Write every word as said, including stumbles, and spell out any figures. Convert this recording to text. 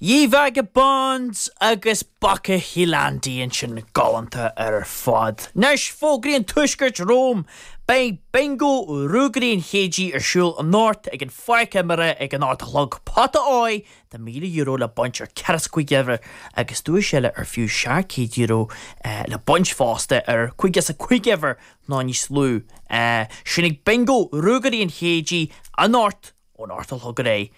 Ye Vagabonds agus Bacchae ansin galánta ar fad. Anois fógraí an tuaiscirt romham Beidh bingo Ruagairí an Chéididh ar siúl anocht ag an pháirc imeartha ag an ocht a chlog pota óir de míle euro le baint ar ceathracha cúig uimhir agus duais eile ar fiú seacht gcéad euro eh, le baint fosta ar cúig is a cúig uimhir nó níos lú. Eh, sin ag bingo Ruagairí an Chéididh anocht ón ocht a chlog ar aghaidh.